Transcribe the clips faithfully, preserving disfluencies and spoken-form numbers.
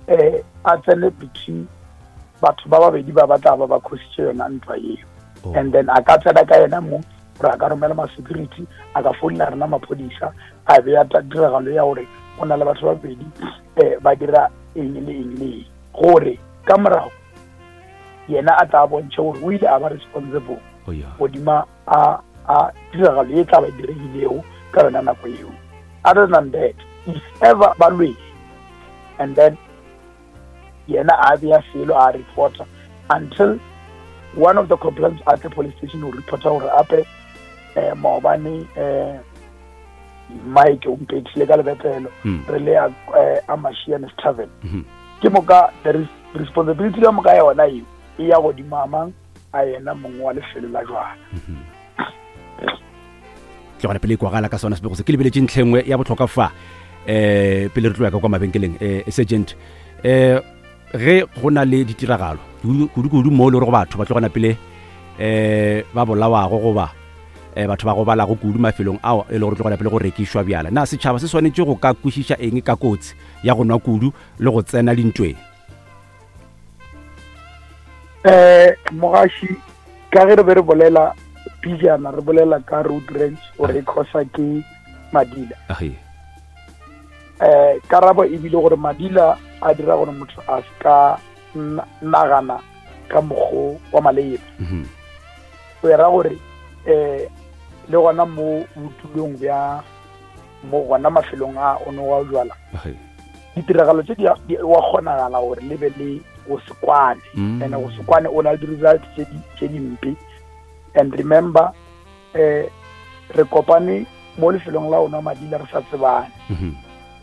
um a tsene between batho ba babedi ba ba tla ba ba khositše yona ntwa eo. Oh. And then a ka tsena ka yena mong gore a ka romela ma-security, a ka founela rena maphodisa, a beya tiragalo ya gore go na le batho ba babedi um ba dira eng le eng le eng, gore ka morago yena a tla bontšhe gore o ile a ba responsible Oh, yeah. godima a a tiragalo e tla ba diregilego ka yona nako eo. Other than that, if ever ba lwele and then yena a beya selo a reporter until one of the complaints at the police station o reporta gore ape eh maobane eh Mike o mpethile ka lebetlelo Mm. re le a eh, a Mashiane's Tavern. Mhm. Ke moka the res- responsibility ka moka yona eo e ya godimo a mang a yena mongwe wa lefelo la jwala. Ke gona pele e kwagala ka sona sebego se ke lebeletše ntlha e nngwe ya bohlokwa fa um pele re tlo ya ka kwa mabenkeleng. um sergeant, um ge go na le ditiragalo kudu-kudu mo e le gore batho ba tlogana pele um ba bolawago goba um batho ba gobalago kudu mafelong ao e le gore tlogana pele go rekišwa bjala, na setšhaba se swanetše go ka kwešiša eng ka kotsi ya go nwa kudu le go tsena dintweng? eh mogashi, ka ge re be re bolela pijana, re bolela ka road rage gore e causa ke madila. Age. eh karabo e bile gore madila a dira gore motho a se ka na- nagana ka mokgo wa maleba. Mhm. O era gore eh le gona mo botulong bja mo gona mafelong a o ne wa jwala, Age. ditiragalo tse di a- di wa kgonagala gore le be le go se kwane. Mm. And go se kwane o na le di-result tse di tse dimpe. And remember, eh re kopane mo lefelong la ona madila re sa tsebane. Mhm.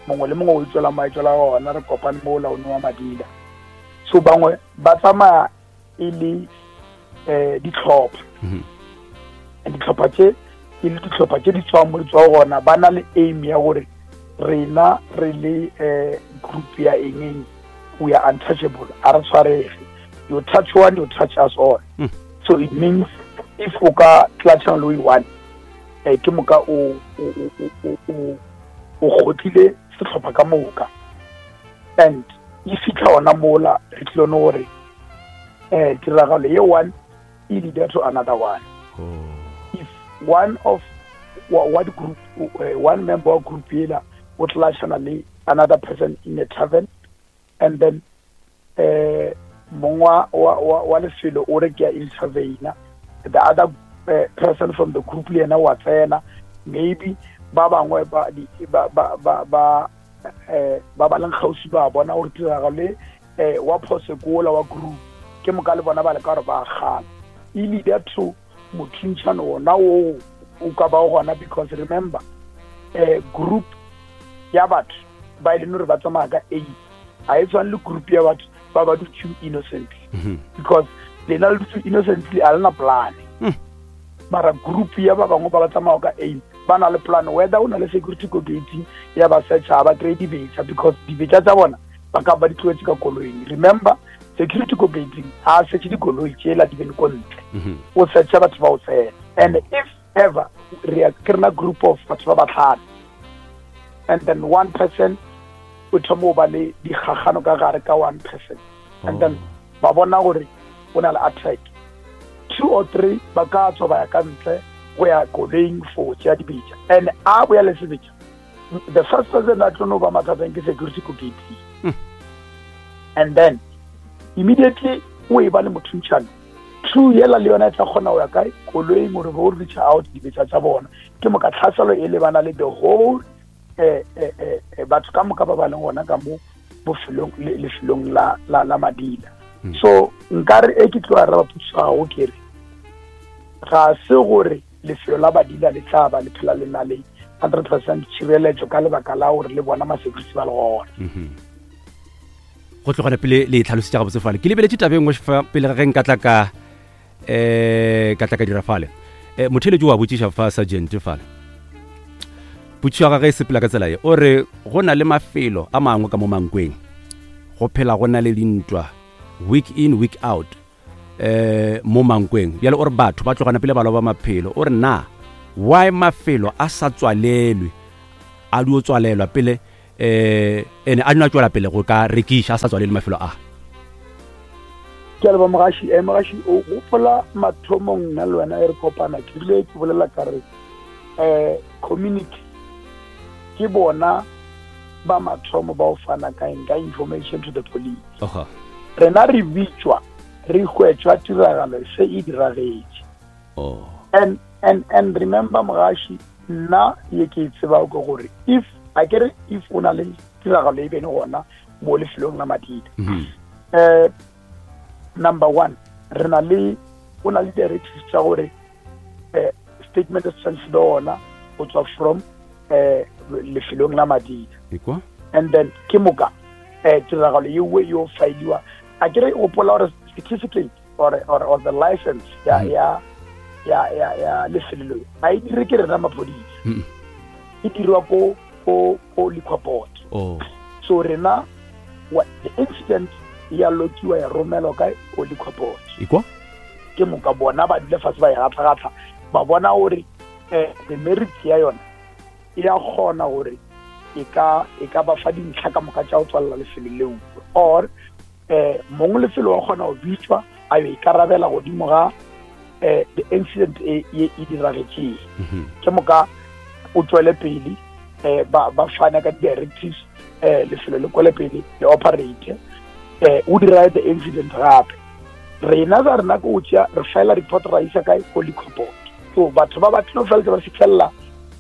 Mongwe le mongwe o itswela maitswela ona, re kopane mo la one wa madila. So bangwe ba tsamaya e le eh ditlhopha. Mhm. And ditlhopha tse e le ditlhopha tse di tswang mo di tswang gona, ba na le aim ya gore rena re le eh group ya eng eng, we are untouchable, a re tshwarege. You touch one, you touch us all. Mm. So it means if o ka tlatšhana le o one, eh ke moka o o o o o o kgotlile sehlopha ka moka. And e fitlha ona mola re tlile no gore eh tiragalo ye one e leader to another one. Oh. If one of wa, wa di group, uh, one member wa group ela o tlashana le another person in a tavern, and then eh mong wa wa wa wa lefelo o re ke a intervene, the other uh, person from the group le yena wa tsena, maybe ba bangwe ba di ba ba ba ba eh ba ba leng kgauswi ba bona gore tiragalo e eh wa phose kola wa group, ke moka le bona ba leka gore ba kgala, e leader to mothuntšhano ona o o ka ba gona. Because remember, eh group ya batho ba e leng gore ba tsamaya ka eight ga e tshwane le group ya batho ba ba dutseng innocently. Mhm. Because lena le dutse innocently, a lena plan. Mm. Mara group ya ba bangwe ba ba tsamaya ka aim ba na le plan, whether o na le security ko gating ya ba searcha, ba kry dibetsa, because dibetsa tsa bona ba ka ba di tlohetse ka koloing. Remember, security ko gating ga a searche dikoloi tsela di bene ko ntle. Mhm. O searcha batho ba o tsena. And if ever re ya- ke rena group of batho ba batlhano, and then one person o thoma o ba le dikgagano ka gare ka one person, and then ba bona gore o na le attack, two or three ba ka tswa ba ya ka ntle go ya koloing for tšea dibetša, and a boya le sebetša, the first person a tlo no ba mathateng ke security ko gating. Mm. And then immediately o e ba le mothuntšhano, two yela le yona e tla kgona go ya kae koloing gore bo reach out dibetša tša bona, ke moka tlhaselo e lebana le the whole eh, eh, eh, eh, batho ka moka ba ba leng gona ka mo bofelong le- lefelong la, la, la madila. Mm. So nkare e ke tlo araba potso ya gago, ke re ga se gore lefelo la badila le tla ba le phela le na le hundred percent tšhireletšo ka lebaka la gore le bona ma-security ba le gona. Mhm. Go tlogana pele le e tlhalosetša gabotse fale, ke lebeletše taba e nngwe fa pele ga ge nka tla ka um ka tla ka dira fale. um motheletši wa botšiša fa, sergeant, fale potšišo ya gage e sepela ka tsela ye, o re go na le mafelo a mangwe ka mo Mankweng go phela go na le dintwa week in week out eh mo Mankweng. Bjale o re batho ba tlogana pele ba loba maphelo. O re na why mafelo a sa tswalelwe, a dio tswalelwa pele um ene a no a tswela pele go ka rekiša a sa tswalele mafelo a. Ke a leboga mogaši. um Mogaši, o gopola mathomong nna le wena e re kopana, ke rile ke bolela ka re um community ke bona ba mathomo ba o fana ka eng, ka information to the police. Oga. Rena re bitšwa re hwetšwa tiragalo se e diragetše. Oh. and and and remember mogaši, nna ye ke e tsebago ke gore if a kere if o na le tiragalo e bene gona mo lefelong la madida, Mhm. eh number one, re na le o na le directives tša gore eh statement se tshwanetse be gona go tswa from eh lefelong la madida. Ekwa. And then ke moka eh tiragalo yewe yo failiwa, a kere gopola gore certificate or, or, or the license ya Mhm. ya ya ya ya lefelo leo ga e dire ke rena maphodisa, Mm. e dirwa ko ko ko liquor board. Oh. So rena wa- the incident ya lokiwa, ya romelwa ka ko liquor board. Ekwa. Ke moka bona ba dule fatshe, ba e gatla-gatla, ba bona gore um the merit ya yona e ya kgona gore e ka e ka ba fa dintlha ka moka tša go tswalela lefelo leo, or um mongwe lefelo wa kgona go bitswa a yo ikarabela godimo ga um the incident e e e diragetšeng. Mhm. Ke moka o tswele pele, um ba ba fane ka di-directives, um lefelo le kwele pele le operate, um o dira the incident gape. Rena za rena ke o tšea, re file report, ra isa kae, ko liquor board. So batho ba ba tlilo feletsa ba fitlhelela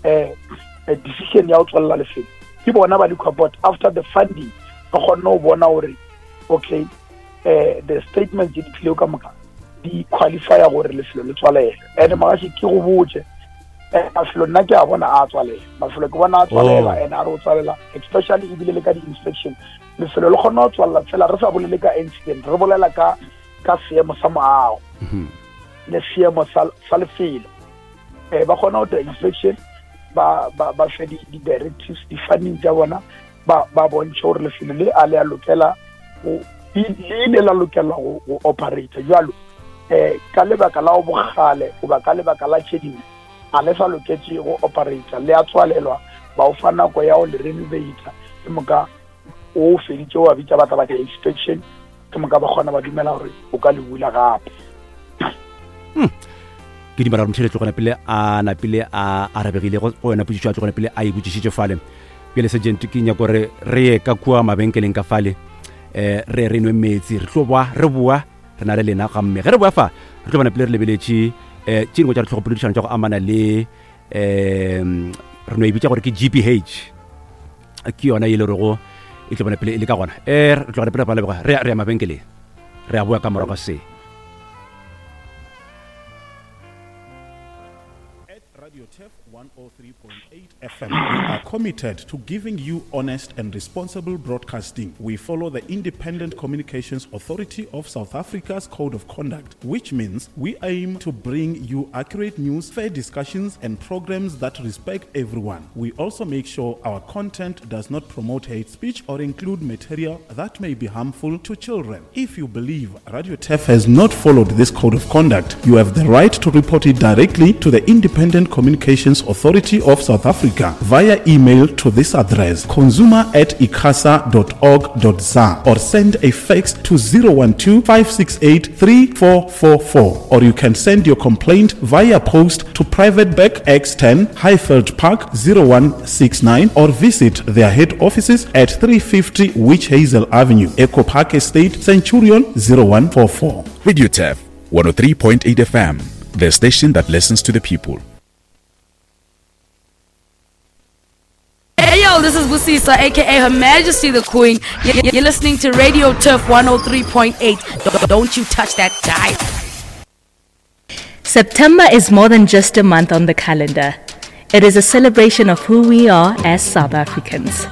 um decision ya go tswalela lefelo ke bona ba liquor board, after the funding ba kgonne go bona gore okay, um the statements tse di tlilego ka moka di qualifya gore lefelo le tswalele. And magaši, ke go botse, eh, mafelo nna ke a bona a tswalela, mafelo ke bona a tswalela. Oh. And a re o tswalela, especially ebile le ka di-inspection, lefelo le kgona go tswalela fela re sa bolele ka incident, re bolela ka ka seemo sa moago Mhm. le seemo sa sa lefelo. um ba kgona go dira inspection, ba ba ba fe di- di-directives, di-funding tša bona, ba ba bontšhe gore lefelo le a le a lokela go le le ile la lokela go go operate jalo, um ka lebaka la go bogale goba ka lebaka la tše dingwe a le sa loketše go operate, le a tswalelwa, ba o fa nako ya go le renovata. Ke moka o feditše, wa bitša batla ba di-inspection, ke moka ba kgona ba dumela gore o ka le bula gape. Ke dumela gore motheletso gona pele a napile a arabegile go go yona potšišo a tlogona pele a e botšišitše fale. Bjale sergeant, ke nyako gore re ye ka kua mabenkeleng ka fale, um re re nwe metsi, re tlo boa, re boa re na le lena gamme. Ge re boa fa, re tlo bona pele re lebeletše um tše dingwe tša ditlhogopoledišano tša go amana le um re no e bitša gore ke G B H, ke yona e le rego e tlo bona pele e le ka gona. um re tlogela pele ba leboga, re ya re ya mabenkeleng, re a boa ka morago ga se. At Radio Turf one oh three point eight F M, we are committed to giving you honest and responsible broadcasting. We follow the Independent Communications Authority of South Africa's Code of Conduct, which means we aim to bring you accurate news, fair discussions, and programs that respect everyone. We also make sure our content does not promote hate speech or include material that may be harmful to children. If you believe Radio Turf has not followed this code of conduct, you have the right to report it directly to the Independent Communications Authority of South Africa via email to this address, consumer at icasa dot org dot za, or send a fax to zero one two, five six eight three four four four, or you can send your complaint via post to Private Bag X ten, Highveld Park, zero one six nine, or visit their head offices at three fifty Witch Hazel Avenue, Echo Park Estate, Centurion, zero one four four. Radio Turf one oh three point eight F M, the station that listens to the people. Hey yo, this is Busisa, A K A Her Majesty the Queen. You- You're listening to Radio Turf one oh three point eight. Don't you touch that dial. September is more than just a month on the calendar. It is a celebration of who we are as South Africans.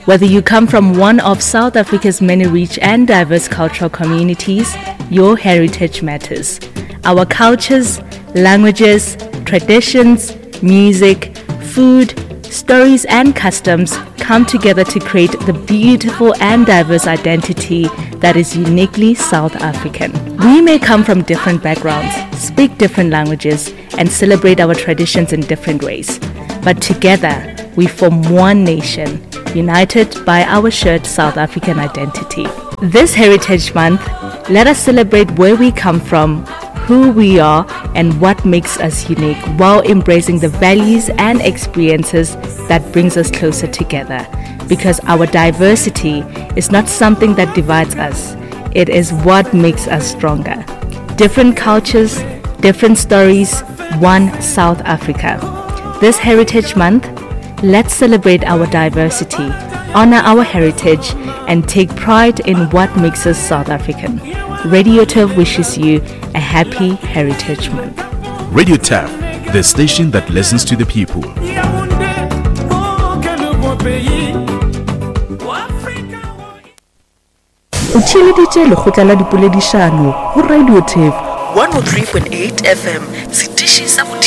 Whether you come from one of South Africa's many rich and diverse cultural communities, your heritage matters. Our cultures, languages, traditions, music, food, stories, and customs come together to create the beautiful and diverse identity that is uniquely South African. We may come from different backgrounds, speak different languages, and celebrate our traditions in different ways. But together, we form one nation, united by our shared South African identity. This Heritage Month, let us celebrate where we come from, who we are, and what makes us unique while embracing the values and experiences that brings us closer together. Because our diversity is not something that divides us, it is what makes us stronger. Different cultures, different stories, one South Africa. This Heritage Month, let's celebrate our diversity, honor our heritage, and take pride in what makes us South African. Radio Turf wishes you a happy Heritage Month. Radio Turf, the station that listens to the people. O theeleditše lekgotla la dipoledišano go Radio Turf one oh three point eight F M, setiši sa go